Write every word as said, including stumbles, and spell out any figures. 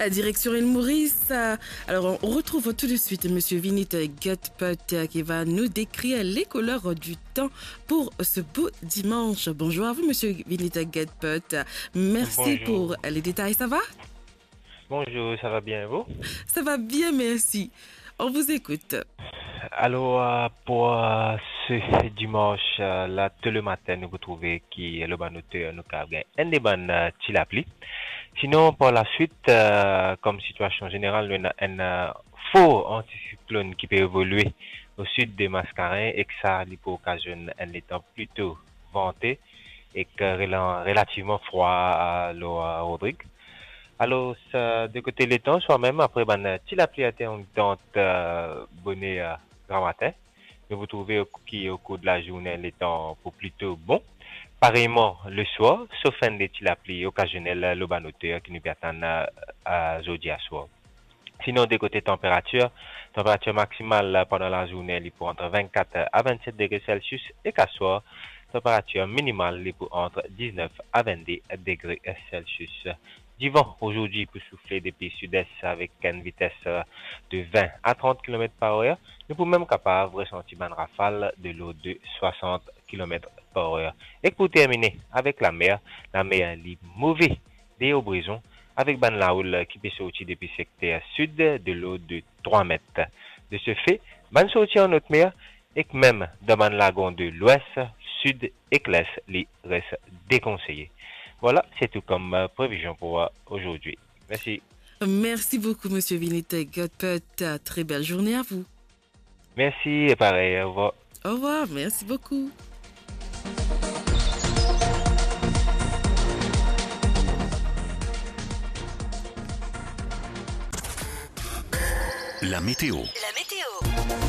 Euh, direction île Maurice. Euh, alors, on retrouve tout de suite monsieur Vinit Gutput, euh, qui va nous décrire les couleurs du temps pour ce beau dimanche. Bonjour à vous, monsieur Vinit Gutput. Merci. Bonjour. Pour les détails. Ça va ? Bonjour, ça va bien, vous ? Ça va bien, merci. On vous écoute. Alors, euh, pour, euh, ce dimanche, euh, la, tôt le matin, nou pou trouve ki, euh, lor bann oter, nou kav gagn enn de bann, euh, ti lapli. Sinon, par la suite, euh, kom sitiasion zeneral, nou ena enn, euh, for antisiklonn ki pe evolie o sid de Maskarin, ek sa, li pou okazionn enn letan plito vante ek, euh, relan-, relativman frwa, euh, lor, euh, Rodrig. Alor, sa, de kote letan, swamem apre bann, euh, ti lapli intermitant, euh, boner, euh, gramatin, nou pou trouve o-, ki o kour de lazourne, letan pou plito bon. Pareyman, leswar, sof enn de ti lapli okazionel lor bann oter ki nou pe atann, euh, euh, zordi aswar. Sinon, de kote tanperatir, tanperatir maksimal pandan lazourne, li pou ant vennkat a vennset degre Celsius, ek aswar, tanperatir minimal, li pou ant diznef a vennde degre Celsius. Divan azordi pou soufle depi sides avek enn vites de vin a trant kilomet par er. Nou pou mem kapav resanti bann rafal de lord de swasant kilomet par er. Ek pou termine avek lamer, lamer li move de Obrezon, avek bann laoul ki pe sorti depi sekter sid de lord de trwa met. De se fe, bann sorti an not mer, ek mem dan bann lagon de lwes, sid ek les, li res dekonseye. Vwala, se tou kom, euh, previzion pou, euh, azordi. Mersi. Merci beaucoup, monsieur Vinit Gutput. Très belle journée à vous. Mersi e parey, orevwar. Au revoir, merci beaucoup. La météo. La météo.